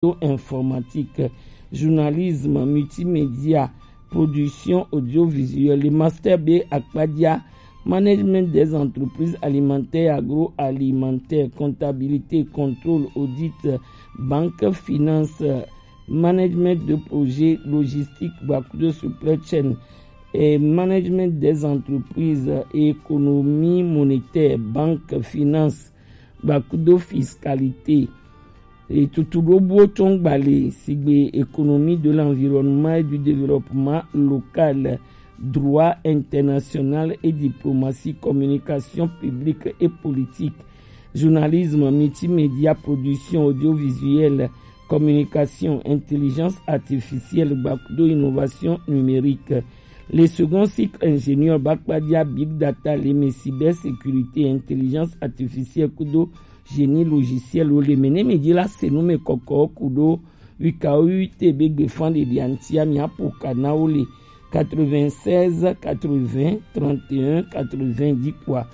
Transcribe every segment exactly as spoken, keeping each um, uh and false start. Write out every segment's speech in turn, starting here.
informatique, journalisme, multimédia, production audiovisuelle, le master B akpadia, management des entreprises alimentaires et agroalimentaires, comptabilité, contrôle, audit, banque, finance, management de projet, logistique, bac de supply chain, et management des entreprises, économie monétaire, banque, finance, bac de fiscalité, et tout le beau ton balé, sigbe économie de l'environnement et du développement local, droit international et diplomatie, communication publique et politique, journalisme, multimédia, production audiovisuelle, communication, intelligence artificielle, bac de innovation numérique. Le second cycle ingénieur bac padia big data, le cybersécurité, intelligence artificielle, kudo génie logiciel, ou le mené média la c'est nous mes coco, kudo, wika, wite, bégbe, fan de diantia, mi apokana, ou le quatre-vingt-seize, quatre-vingts, trente et un, quatre-vingt-dix, quoi.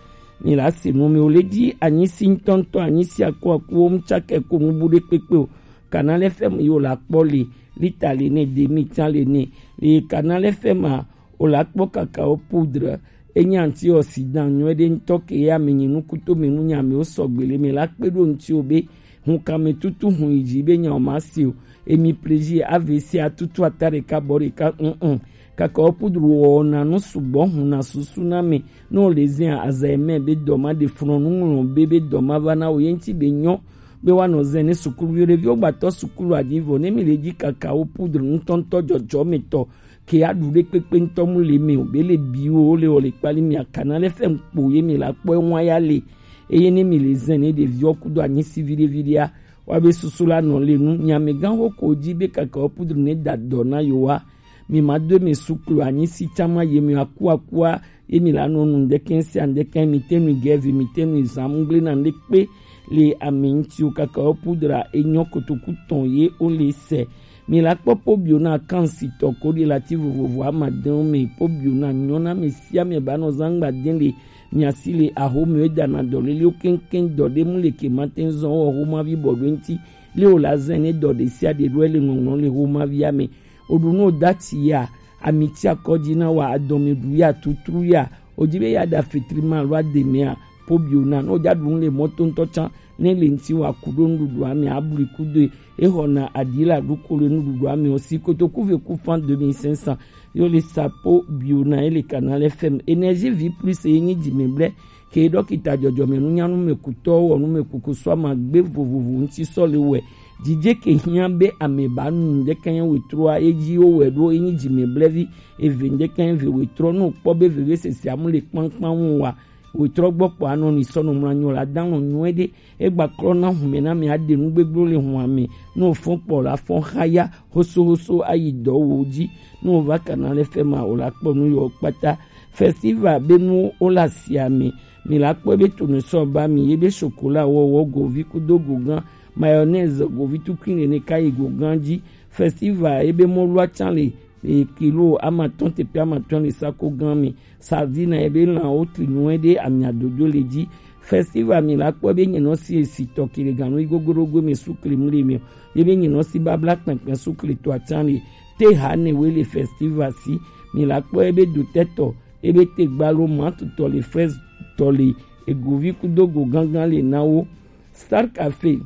Mi la c'est nous, mais au le dit, anyi si tonton, anyi si akwa, kuo, mchake, ko, mu bude, pekpe, o. Canal F M, yo la kpɔ le, lita le ne, demi tan le ne. Le Canal F M a, o la kpɔ cacao poudre, enyi antioxydant nyuie ɖe ŋutɔ ke ya me nyi nukuto me nu nya me o sɔgbe le me la kpe ɖo ŋuti o be, hun kame tutu hun yi dzi be nya o ma si o, emi plaisir A V C a tutu ata ɖeka bɔ ɖeka, mm, mm. Cacao poudre wɔna nu sugbɔ hun na susu na me, ne o le zin a, aza eme be dɔ ma ɖe flɔnu ŋlɔ be, be dɔ ma va na o ye ŋuti be nyɔ, be woanɔ zɛn ne sukuluvi ɖeviwo gbatɔ sukulu aɖi vɔ ne mi le dzi cacao poudre ŋutɔŋutɔ dzɔdzɔmetɔ ke aɖu ɖe kpekpe ŋutɔ mu le me o be le biwo le o le kpali mi akana le fɛn kpo ye mi la kpɔ ewa ya le eye ne mi le zɛn ne ɖeviwo kudo anyi si viɖe viɖea wa be susu la nɔ le nu nyamegã ho ko dzi be cacao poudre ne da dɔ na yo wa mi ma do mi sukulu anyi si tsama ye mi aku akua ye mi la nɔ nu ŋdɛkɛ sia ŋdɛkɛ mi te nu gɛvi mi te nu zam ŋgble na ŋɖe kpe le ami ŋuti o cacao poudre enyɔ kotoku tɔn ye o le sɛ. Mi la kpɔ pobio na kan sitɔ ko ɖi lati vovovo amadewo me pobio na nyɔ na mi sia mi ba nɔ zangba den le mi asi le aho mi da na dɔ lele o keŋkeŋ dɔ ɖe mu le ke ma te zɔn wɔ ho ma vi bɔ ɖo ŋuti le o la zɛn ne dɔ ɖe sia ɖe ɖo le ŋɔŋlɔ le ho ma via me. O ɖu no dati ya, amiti akɔdzi na wa adɔme ɖu ya tutru ya, o dzi be ya da fitri ma lo ademe a, pobio na no ja ɖu le mɔto ŋutɔ tsan ne le ŋuti wa ku ɖo nuɖuɖu ame abli kudo e xɔ na aɖi la ɖu ko le nuɖuɖu ame o si kotoku ve ku fan deux mille cinq cents yo le sapo bio na ele Canal F M énergie vie plus ye nyi dzi me blɛ ke ɖɔkita dzɔdzɔme nunyanu me kutɔ wɔ nu me kuku sɔ ama gbe vovovo ŋuti sɔ le wɛ dzidze ke hiã be ame ba nu ŋdɛkɛ nye wetroa ye dzi wo wɛ ɖo ye nyi dzi me blɛ vi eve ŋdɛkɛ nye ve wetrɔ no kpɔ be veve sese amu le kpankpan ŋu wa wetrɔ gbɔ kpɔ anɔ ni sɔ nɔ mla nyɔ la dan nɔ nyuɛ ɖe egba klɔ na hume na mi aɖe nu gbegblɔ le hua me no fɔn kpɔ la fɔn haya hoso hoso ayi dɔ wo dzi no va Canal F M a o la kpɔ nu yɔ kpata festival be nu o la sia me mi la kpɔ be tonu sɔ ba mi ye be chocolat wɔwɔ govi kudo gogan mayonnaise govi tukui le ne ka yi gogan dzi festival ye be mɔlua tsan le e kilo amatɔn tepe amatɔn le sako gan mi sardine ebe lan o tri nyuie ɖe amia dodo le dzi festival mi la kpɔ be nyinɔ si esi tɔ kele ganu yi gogorogo mi sukle mu le mi o ye be nyinɔ si babla kpɛnkpɛn sukle to atsan le te ha ne we le festival si mi la kpɔ ebe dotɛtɔ ebe te gbalo matu tɔ le fraise tɔ le egovi kudo go gangan le na wo star cafe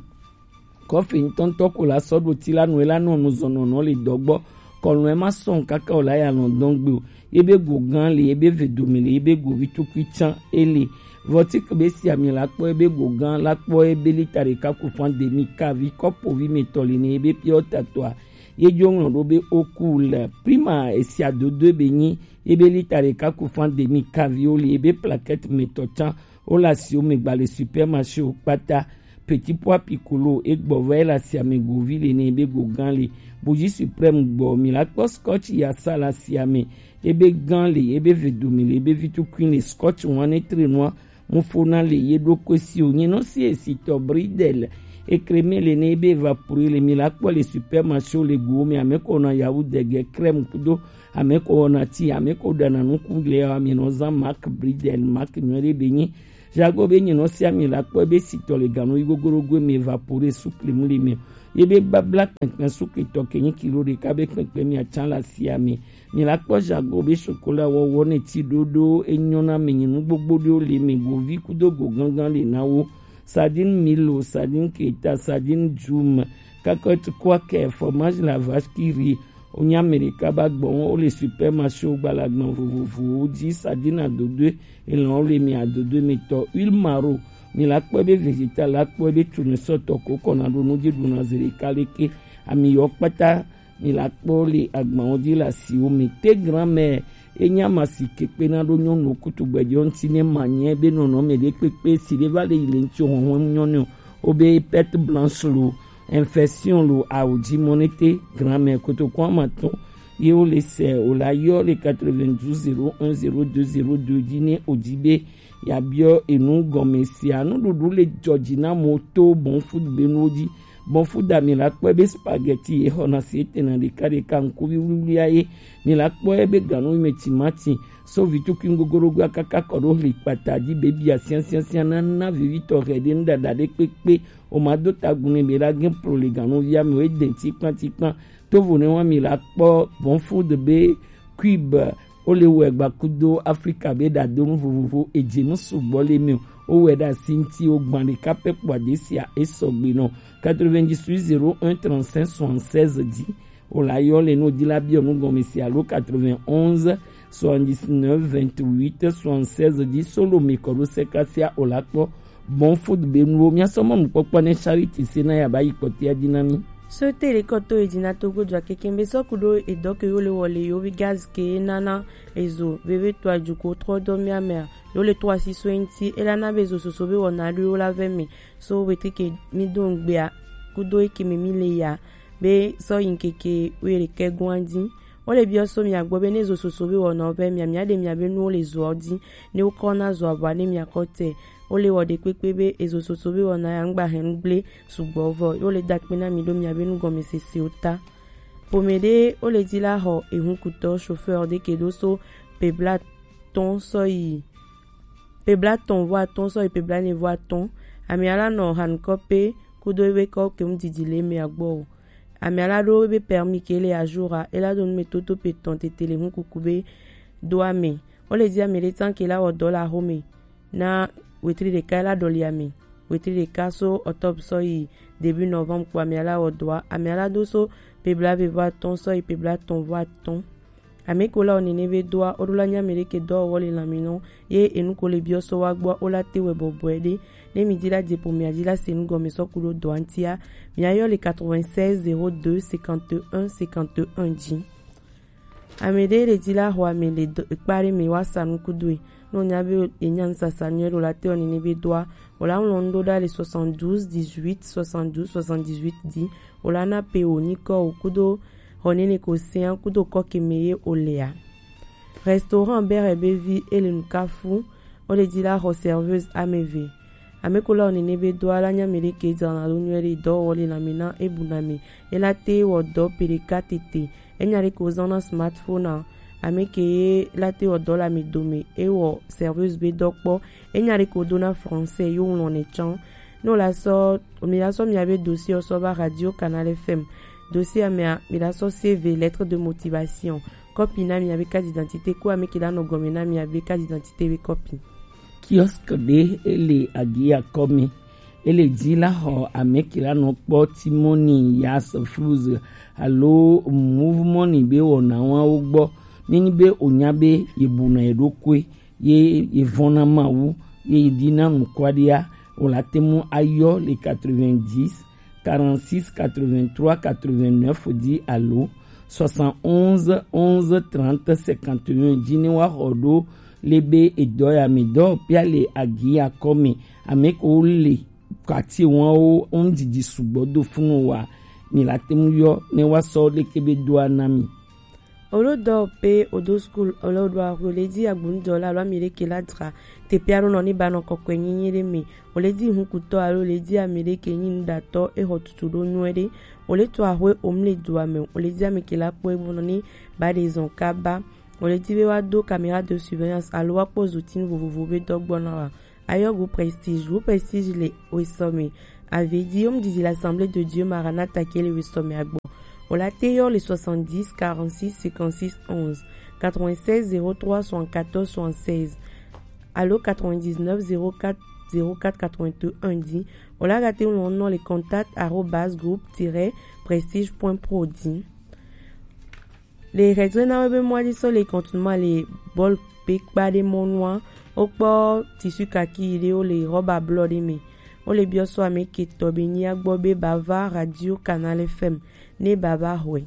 kɔfi ŋutɔŋutɔ ko la sɔ ɖo ti la nu ela nɔ nu zɔnɔnɔ le dɔ gbɔ kɔlɔn ema sɔn kaka o la ya lɔn dɔn gbe o ye be go gan le ye be ve dome le ye be go vi tukui tsan ele vɔtik be si ami la kpɔ ye be go gan la kpɔ ye be lita ɖeka ku fan demi kavi kɔpo vi me tɔ le ne ye be piɔ tatɔa ye dzo ŋlɔ ɖo be oku le prima esia dodo be nyi ye be lita ɖeka ku fan demi kavi o le ye be plaquette me tɔ tsan o la si o me gba le supermarché o kpata Petit Pois Piccolo egbɔ va ye le asiame govi le ne ebe go gan le. Bougie Suprême gbɔ mi la kpɔ Scotch yasa le asiame ebe gan le ebe ve dome le ebe vi tukui le Scotch wan ne tre nua mufona le ye ɖo koe si o nye nɔ si esi tɔ bridel ekreme le ne ebe evapore le mi la kpɔ le supermarché le go me ame ko na yawu dege crème kudo ame ko na ti ame ko dana nuku le ya mi nɔ zan mark bridel mark nyuie ɖe be nyi Jago be nyinɔ si ami la kpɔ be sitɔ le ganu yi gogorogo me vapore sukle mu le me Ye be babla kpɛnkpɛn sukpetɔ ke nyi kilo ɖeka be kpɛnkpɛn mi atsa le asia me. Mi la kpɔ jago be sokola wɔwɔ ne ti ɖoɖo enyɔ na me nyi nu gbogbo ɖewo le me govi kudo go gangan le na wo. Sardine milo, sardine keta, sardine djum, kakɔt kwakɛ, fromage la vache qui rit. Wo nya Amerika ba gbɔ wo le supermarché wo gbalagbɔn vovovowo dzi, sardine adodoe, elɔn wo le mi adodoe mi tɔ, huile maro, mi la kpɔ be vegetal la kpɔ be tournesol tɔ ko kɔna ɖo nu dzi ɖuna zi ɖeka leke, ami yɔ kpata mi la kpɔ le agbawo dzi le asiwo me. Te grand-mère, enya ma si ke kpena ɖo nyɔnu kutugbɛjɔ ŋuti ne ma nyɛ be nɔnɔme ɖe kpekpe si ɖe va le yi le ŋuti hɔhɔn nyɔnu o be perte blanche lo, infection lo, awo dzi mɔ ne te grand-mère kotoko ama tɔn ye wo le se o la yɔ le quatre-vingt-douze zéro un zéro deux zéro deux dzi ne o dzi be ya biɔ enu gɔme sia. Nuɖuɖu le dzɔ dzi na mo to bon food be nuwo dzi. Bon food a mi la kpɔe be spaghetti ye xɔna si etena ɖeka ɖeka ŋkuvi wluwlua ye. Mi la kpɔe be ganu me timati so vitukui ŋgogorogoa kaka kɔ ɖo hli kpata dzi bebia siasiasia na na vivitɔ hɛ ɖe nu ɖaɖa ɖe kpekpe. O ma do tagun ne be la gen pro le ganuvia me o e den tikpan tikpan. Tovo ne wa mi la kpɔ bon food be cube o le wɔ egba kudo Afrika be ɖadonu vovovo edze nu sugbɔ le mi o. O wɛ ɖe asi ŋuti o gban ɖeka pɛ kpɔ adesia e sɔgbe nɔ. Quatre-vingt-dix-huit zéro un trente-cinq soixante-seize dzi o la yɔ le no di la biɔ nu gɔme si alo quatre-vingt-onze soixante-dix-neuf vingt-huit soixante-seize dzi solo mi kɔ ɖo sekasia o la kpɔ. Bon food be nuwo mia sɔ mɔ nukpɔkpɔ ne charity se na ya ba yi kpɔtia dzi na mi. So te le kɔto e dzi na togo dua keke be sɔ ku ɖo edɔ ke yo le wɔ le yo vi gaz ke nana ezo veve to ajuko trɔ dɔ mia mea yo le to asi so ŋuti e la na be ezo soso be wɔna ɖo yo la vɛ mi so wetri ke mi do ŋgbea kudo eke me mi le ya be sɔ yi ŋkeke wo le ke gɔn dzi. Wo le biɔ so mia gbɔ be ne zo soso be wɔna wo vɛ mia mia ɖe mia be nuwo le zoa dzi ne wo kɔ na zoa bua ne mia kɔ te. Wo le wɔ ɖe kpekpe be ezo soso be wɔna ya ŋgba hɛn gble sugbɔ vɔ wo le da kpe na mi ɖo mia be nugɔmesesewo ta. Ƒome ɖe wo le dzi la xɔ ehunkutɔ chauffeur ɖe ke ɖo so pebla tɔn sɔ yi pebla tɔn vɔ atɔn sɔ yi pebla ne vɔ atɔn. Amia la nɔ hankɔ pe kudo ebe kɔ kem didi le mea gbɔ o. Amia la ɖo ebe permis ke le ajour a e la do nu me toto pe tɔn tete le hunkuku be do ame. Wo le dzi ame ɖe tsan ke la wɔ dɔ la xome na wetri ɖeka e la ɖɔli ame wetri ɖeka so octobre sɔ yi début novembre kpo amia la wɔ dɔa amia la do so pebla ve vɔ atɔn sɔ yi pebla tɔn vɔ atɔn. Ame ko la wɔ nene be doa wo ɖo la nya ame ɖe ke dɔwɔwɔ le lãme nɔ ye enu ko le biɔ sɔ wa gbɔ wo la te wɛ bɔbɔe ɖe. Ne mi di la dze ƒomea dzi la se nu gɔme sɔ ku ɖo dɔa ŋutia mia yɔ le quatre-vingt-seize zéro deux cinquante et un cinquante et un dzi. Ame ɖe le dzi la xɔ ame le kpa ɖe me wa sa nu kudoe. Ne wonya be yenya nusasa nyuie ɖo la te wɔ nene be doa wo la ŋlɔ nu ɖo ɖa le soixante-douze dix-huit soixante-douze soixante-dix-huit dzi. Wo la na pe wo nyikɔ wo kudo xɔ nene ko sia kudo kɔ ke me ye wo lea. Restaurant bere be vi e le nukafu wo le dzi la xɔ serveuse ame eve. Ame ko la wɔ nene be doa la nya ame ɖe ke dzana ɖo nyuie ɖe dɔwɔwɔ le lãme na ebu na me e la te wɔ dɔ pe ɖeka tete. Enya ɖe ko zɔna smartphone a ame ke ye la te wɔ dɔ le ame dome e wɔ serveuse be dɔ kpɔ. Enya ɖe ko dona français yo ŋlɔ ne tsã. Ne wo la sɔ mi la sɔ mia be dossier sɔ va radio canal F M. Dossier mea mi la sɔ C V lettre de motivation. Kɔpi na mia be carte d'identité ko ame ke la nɔ gɔme na mia be carte d'identité be kɔpi. Kiosque ɖe e le agia kɔmi e le dzi la xɔ ame ke la nɔ kpɔ timoni yas fluz alo move money be wɔnawawo gbɔ. Nenyi be wonya be yebuna yeɖokoe ye yevɔna Mawu ye yedina nukwaɖia wo la te mu ayɔ le quatre-vingt-dix quarante-six quatre-vingt-trois quatre-vingt-neuf dzi alo soixante-onze onze trente cinquante et un dzi ne woaxɔ ɖo le be edɔ ya me dɔwɔƒea le agi ya kɔ me. Ame kewo le kati wɔwo ŋdidi sugbɔ do funu wa mi la te ŋu yɔ ne woasɔ leke be doa na mi. Olo dɔ pe odo school olo do axwe le dzi agbonudɔla alo ame ɖe ke la dzra teƒe aɖo nɔ ne ba nɔ kɔkɔe nyenye ɖe me. Wòle dzi hukutɔ alo wòle dzi ame ɖe ke nyi nuɖatɔ, exɔ tutu ɖo nyuie ɖe. Wòle to axwe omle dua me, wòle dzi ame ke la kpɔe bo nɔ ni ba ɖe zɔn kaba. Wòle dzi be woado caméra de surveillance alo woakpɔ zotinu vovovo be dɔ gbɔna wa. Ayɔ go Prestige, go Prestige le wesɔ me. Ave di Home Didi l'Assemblée de Dieu Maranatha ke le wesɔ mɛ agbɔ. O la te yɔ le soixante-dix quarante-six cinquante-six onze, quatre-vingt-seize zéro trois soixante-quatorze soixante-seize alo quatre-vingt-dix-neuf zéro quatre zéro quatre quatre-vingt-un di. O la ga te lɔn nɔ le contact arobase groupe tiret prestige point pro di. Le hɛdze na wo be mɔa di sɔ le kɔntuma le bɔl pe kpa ɖe mɔnua, wokpɔ tissu kaki ɖe wo le rɔba blɔ ɖe me. Wo le biɔ sɔ ame ke tɔ be nyia gbɔ be ba va Radio Canal F M ne ba va hɔe.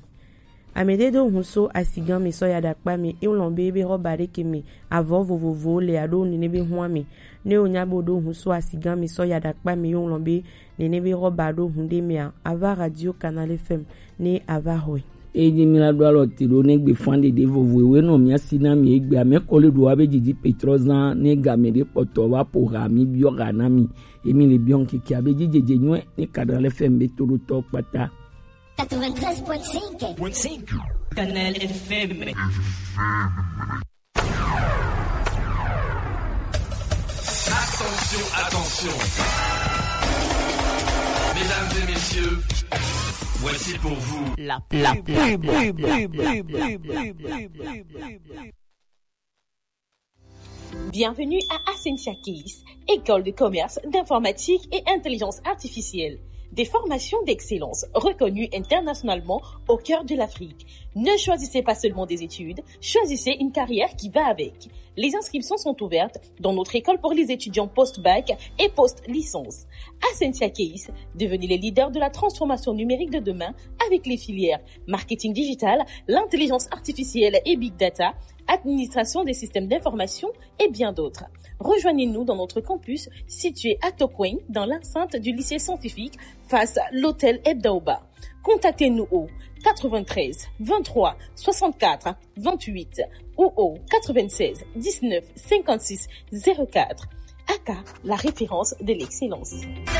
Ame ɖe do hun so asigan me sɔ ya ɖakpa me, e lɔn be be rɔba ɖe ke me avɔ vovovowo le aɖo nene be hua me. Ne wo nya be wo ɖo hun so asigan me sɔ ya ɖakpa me, e lɔn be nene be rɔba ɖo hun ɖe mea, ava Radio Canal F M ne ava hɔe. Eye mi la ɖo alɔ te ɖo ne gbe fan ɖeɖe vovo ewe nɔ mia si na mi egbe ame kɔ le ɖo wa be didi petrɔ zan ne game ɖe kpɔtɔ va po ha mi biɔ ha na mi. Emi le biɔ ŋkeke abe dzi dzedze nyuɛ ne Canal F M be toɖotɔ kpata. Quatre-vingt-treize point cinq. Canal F M. Attention, attention. Mesdames et messieurs, voici pour vous la, la pub. Bienvenue à Ascensia Keys, école de commerce, d'informatique et intelligence artificielle. Des formations d'excellence reconnues internationalement au cœur de l'Afrique. Ne choisissez pas seulement des études, choisissez une carrière qui va avec. Les inscriptions sont ouvertes dans notre école pour les étudiants post-bac et post-licence. Ascensia Keys, devenez les leaders de la transformation numérique de demain avec les filières marketing digital, l'intelligence artificielle et big data, administration des systèmes d'information et bien d'autres. Rejoignez-nous dans notre campus situé à Tokweng, dans l'enceinte du lycée scientifique, face à l'hôtel Ebdaoba. Contactez-nous au quatre-vingt-treize vingt-trois soixante-quatre vingt-huit ou au quatre-vingt-seize dix-neuf cinquante-six zéro quatre. A K, la référence de l'excellence.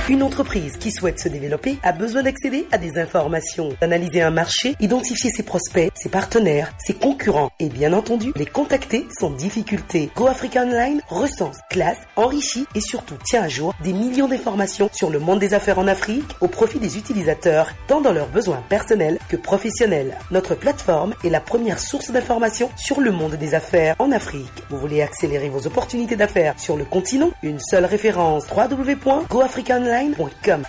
Une entreprise qui souhaite se développer a besoin d'accéder à des informations, d'analyser un marché, identifier ses prospects, ses partenaires, ses concurrents et bien entendu les contacter sans difficulté. Go Africa Online recense, classe, enrichit et surtout tient à jour des millions d'informations sur le monde des affaires en Afrique au profit des utilisateurs, tant dans leurs besoins personnels que professionnels. Notre plateforme est la première source d'information sur le monde des affaires en Afrique. Vous voulez accélérer vos opportunités d'affaires sur le continent ? Une seule référence, trois W point go africa online point com.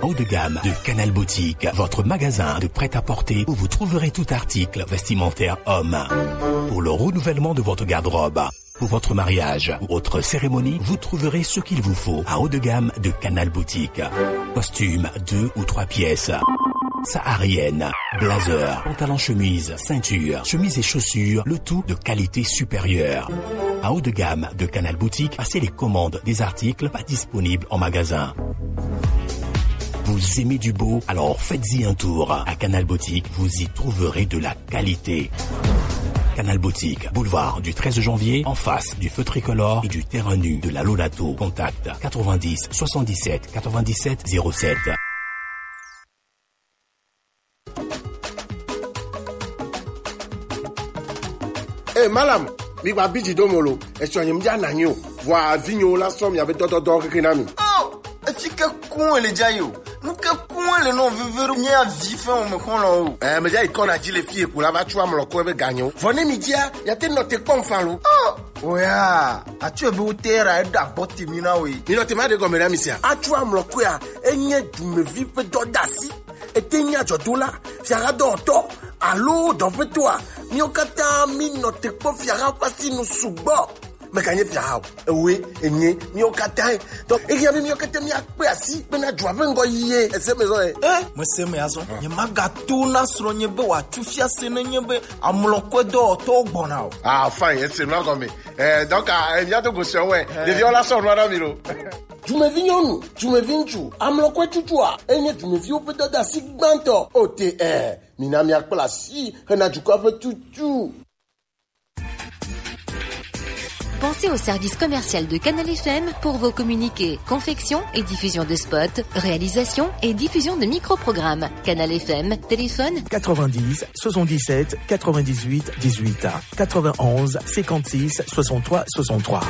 Haut de gamme de Canal Boutique, votre magasin de prêt-à-porter où vous trouverez tout article vestimentaire homme. Pour le renouvellement de votre garde-robe, pour votre mariage ou autre cérémonie, vous trouverez ce qu'il vous faut à haut de gamme de Canal Boutique. Costume deux ou trois pièces, saharienne, blazer, pantalon chemise, ceinture, chemise et chaussures, le tout de qualité supérieure. À haut de gamme de Canal Boutique, passez les commandes des articles pas disponibles en magasin. Vous aimez du beau ? Alors faites-y un tour. À Canal Boutique, vous y trouverez de la qualité. Canal Boutique, boulevard du treize janvier, en face du feu tricolore et du terrain nu de la Lolato. Contact quatre-vingt-dix soixante-dix-sept quatre-vingt-dix-sept zéro sept. Eh, malam, mi gba biji do molo. Esɔ nyem ja na nyo. Vɔ avinyo la sɔ mi abe dɔdɔdɔ keke na mi. Oh, efi ke kun ele ja yo. Nu ke kun ele no veve ro nya vi fe o me kon lo o. Eh, me ja ikɔ na ji le fi eku la va tu amlɔ ko be ganyo. Vɔ ne mi dia, ya te no te kpɔn fan lo. Oh, oya, atu ebe o te ra e da bɔ te mi na we. Mi no te ma de gɔme na mi sia. Atu amlɔ ko ya, enye dumevi pe dɔ dasi. Ete nye adzɔdola, fiaɖuɖotɔ alo dɔƒetɔa, míwo katã mínɔ te kpɔ fiaha ƒe asinu sugbɔ. Meganye fiaha o, ewoe, enye, míwo katãe. Donc, ehiã be míwo katã míakpe asi bena dua ƒe ŋgɔyiye ese me zɔ ye. Eh, mese me azɔ. Nyemagato na srɔ̃nye be wòatsu fiase nenye be amlɔkɔedɔwɔtɔwo gbɔna o. Ah, fine, ese nua gɔme. Eh, donc, ah, eh, míado go srɔ̃ wɛ. Eh. Ɖeviwo la sɔ nua na mi lo. Dumevi nyɔnu, dumevi ŋutsu, amlɔkɔe tutua, enye dumeviwo ƒe dɔdeasi gbãtɔ. O T R, mina míakpla asi hena dukɔa ƒe tutu. Pensez au service commercial de Canal F M pour vos communiqués, confection et diffusion de spots, réalisation et diffusion de micro-programmes. Canal F M, téléphone quatre-vingt-dix soixante-dix-sept quatre-vingt-dix-huit dix-huit, quatre-vingt-onze cinquante-six soixante-trois soixante-trois.